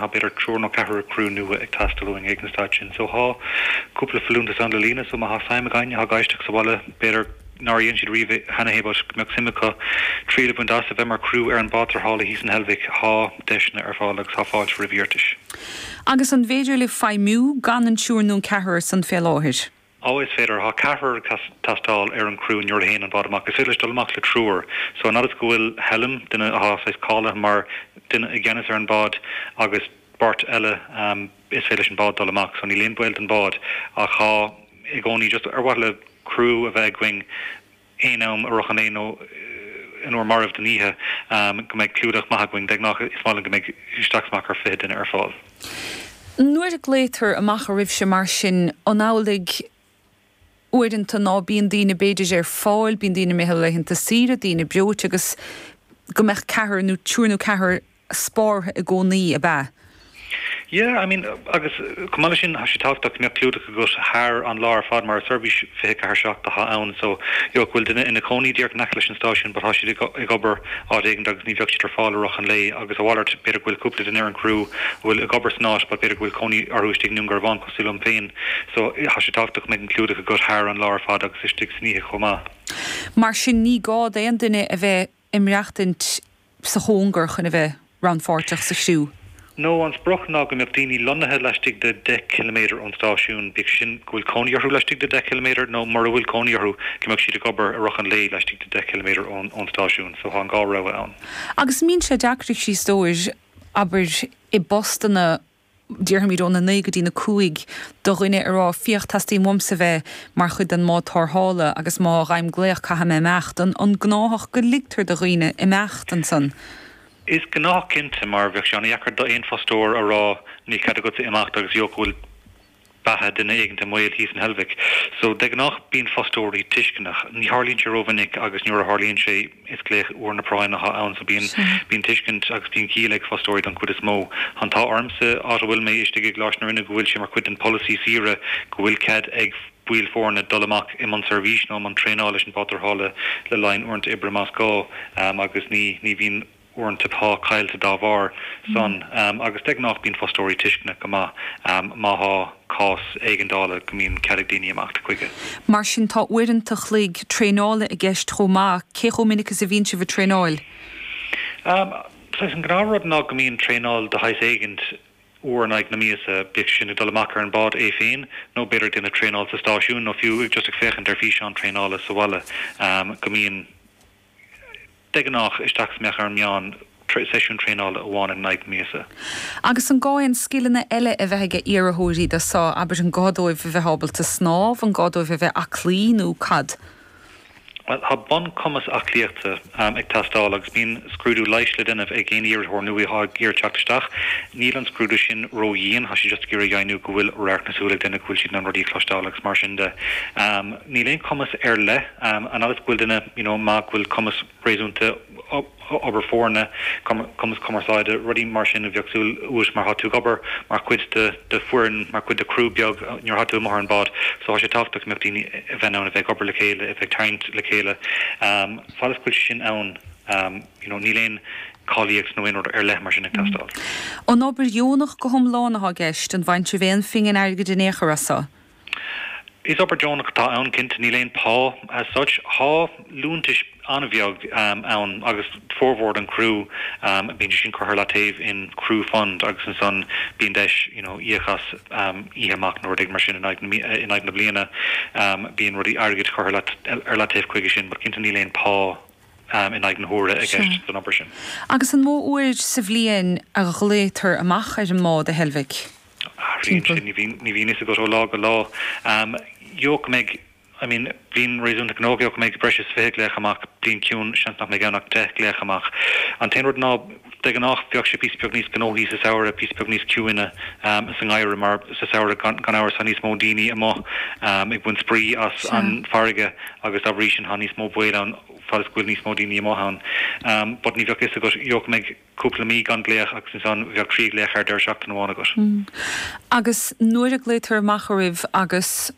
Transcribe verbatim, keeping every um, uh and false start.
Tá b'fhéidir triúr nó ceathrar criú nua ag teastáil uainn ag an staid sin. So tá cúpla folúntas ann le líonadh, so má tá suim ag éinne atá ag éisteacht sa bhaile, b'fhéidir nár dhein siad riamh cheana é but go mbeadh suim acu triail a bhaint as a bheith mar chriú ar an bád tarrthála thíos in Heilbhic, tá deiseanna ar fáil agus tá fáilte roimh iarratais. Agus an féidir libh feidhmiú gan an triúr nó an ceathrar san fé láthair? Ó is féidir tá ceathrar ag teastáil ar an gcriú nuair a théann an bád amach. Is féidir leis dul amach le triúr. So an fhad is go bhfuil helm duine atá saghas cáilithe mar duine i gceannas ar an bád agus beirt eile um, is féidir leis an bád dul amach, so níl aon baol don bád ach tá i gcónaí just ar mhaithe le criú a bheith againn aon am i rith an lae nó in uair marbh den oíche um, go mbeidh clúdach maith againn de ghnáth is maith go mbeidh isteach amach ar fiche duine ar fáil. Nuair a ghlaotar amach oraibhse mar sin an amhlaidh uaireanta ná bíonn daoine b'fhéidir ar fáil, bíonn daoine imithe laethanta saoire, daoine breoite agus go mbeadh ceathrar nó triúr nó ceathrar spártha i gcónaí ab ea. Yeah, I mean agus chomh maith sin tá sé tábhachtach go mbeadh clúdach agat thar an lá ar fad mar seirbhís fiche ceathair seacht atá ann so you know, go bhfuil duine ina cónaí díreach in aice leis an stáisiún, but tá siad ag obair áit éigin agus ní bheadh siad ar fáil i rith an lae agus a mhalairt b'fhéidir go bhfuil cúpla duine ar an gcriú bhfuil ag obair san áit, but b'fhéidir go bhfuil cónaí orthu istigh i nDún Garbhán cosúil liom féin. So tá sé tábhachtach go mbeadh an clúdach agat thar an lá ar fad agus istigh san oíche chomh maith. Mar sin ní gá d'aon duine a bheith ag maireachtaint sa chóngar chun a bheith rannpháirteach sa chriú. No an sprioc ná go mbeadh daoine lonnaithe laistigh de deich kilometer ón stáisiún, bíodh sin go bhfuil cónaí orthu laistigh de deich kilometer nó mura bhfuil cónaí orthu go mbeadh siad ag obair i rith an lae laistigh de deich kilometer ón ón stáisiún, so tá an dhá rogha ann. Agus mbíonn sé deacair a stór abair i bpostanna déarfaimid óna naoi go dtí na cúig do dhuine a rá féach teastaíonn uaimse bheith mar chuid den mbád tarrthála agus má fhaighim glaoch caithfidh mé imeacht an an gnáthach go ligtear do dhaoine imeacht ansan. Is gnách cinnte mar bheadh sé an-deacair d'aon fostóir a rá níl cead agat imeacht agus go bhfuil beatha duine éigin i mbaol thíos in Heilbhic. So de ghnáth bíonn fostóirí tuisceanach, ní tharlaíonn sé rómhinic agus nuair a tharlaíonn sé is glaoch uair na práinne atá ann so bíonn bíonn tuiscint agus bíonn ciall ag fostóirí don chuid is mó. An t-ádh ormsa áit a bhfuil mé istigh i gColáiste na Rinne go bhfuil sé mar chuid den polasaí saoire go bhfuil cead ag baill foirne dul amach i mbun seirbhís nó mbun traenála leis an bád tarrthála le linn uaireanta oibre más gá um, agus ní ní bhíonn uaireanta pá caillte dá bharr san um, agus de ghnáth bíonn fostóirí tuisceanach go maith um, má tá cás éigeandála go mbíonn cead ag daoine imeacht chuige. Mar sin tá uaireanta an chloig traenála i gceist chomh maith cé chomh minic is a bhíonn sibh ag traenáil. Um, so an gnáthrud ná go mbíonn traenáil de shaghas éigin uair in aghaidh na míosa bíodh sin ag dul amach ar an bád é féin nó b'fhéidir déanamh traenáil sa stáisiún nó fiú just ag féachaint ar físeán traenála sa bhaile um, go mbíonn de ghnáth isteach is amach ar an meán seisiún traenála amháin in aghaidh míosa. Agus an gá aon scileanna eile a bheith ag iarrthóirí do seo abair an gá dóibh a bheith ábalta snámh an gá dóibh a bheith aclaí nó cad. Well, tá bunchumas aclaíochta um, ag teastáil agus bíonn scrúdú leighis le déanamh ag aon iarrthóir nua atá ag iarraidh teacht isteach. Níl an scrúdú sin ródhian tá sé just ag iarraidh deimhniú go bhfuil radharc na súl ag duine go bhfuil siad an rudaí cloisteáil agus mar sin de. Um, níl aon cumas ar leith um, an fhad is go bhfuil duine you know, má go bhfuil cumas réasúnta obair foirne cumas cumarsáide rudaí mar sin a bheadh súil uait mar tá tú ag obair mar chuid de de fhoireann mar chuid de chriú beag nuair atá tú amuigh ar an bád so tá sé tábhachtach go mbeadh daoine a bheith ann a bheith ag obair le chéile a bheith ag tarraingt le chéile um, fad is go bhfuil sin ann um, you know, níl aon cáilíocht nó aon rud ar leith mar sin ag teastáil. An obair dheonach go hiomlán atá i gceist an bhfaigheann sibh aon phingin airgid in aon chor as seo. Is obair deonach atá ann cinnte níl aon pá as such tá liúntas an-bheag um, ann agus formhór an criú um, bíonn sin curtha le taobh in crew fund agus ansan bíonn deis you know, íoc as um, oíche amach nó rud mar sin in aghaidh in aghaidh na bliana um, bíonn rudaí airgid curtha ar leataobh chuige sin, but cinnte níl aon pá um, in aghaidh na huaire i gceist don obair sin. Agus an mó uair sa bhliain a ghlaotar amach ar an mbád a Heilbhic? Ní bhíonn ní bhíonn go ó lá go lá. Um, Jo go mbeidh I mean bliain réasúnta gnóthach go mbeidh breis is fiche glaoch amach bliain ciúin seans nach mbeidh ann ach deich glaoch amach. An t-aon rud ná de ghnáth bheadh sé píosa beag níos gnóthaí sa samhradh píosa beag níos ciúine um, sa ngeimhreadh mar sa samhradh gan gan amhras tá níos mó daoine amuigh um, ag baint spraoi as an farraige agus dá bhrí sin tá níos mó baol ann fad is go bhfuil níos mó daoine amuigh ann. Um, but ní bheadh fhios agat jo go mbeidh cúpla mí gan glaoch agus ansan bheadh trí glaoch ar deireadh seachtaine amháin agat. Mm. Agus nuair a ghlaotar amach oraibh agus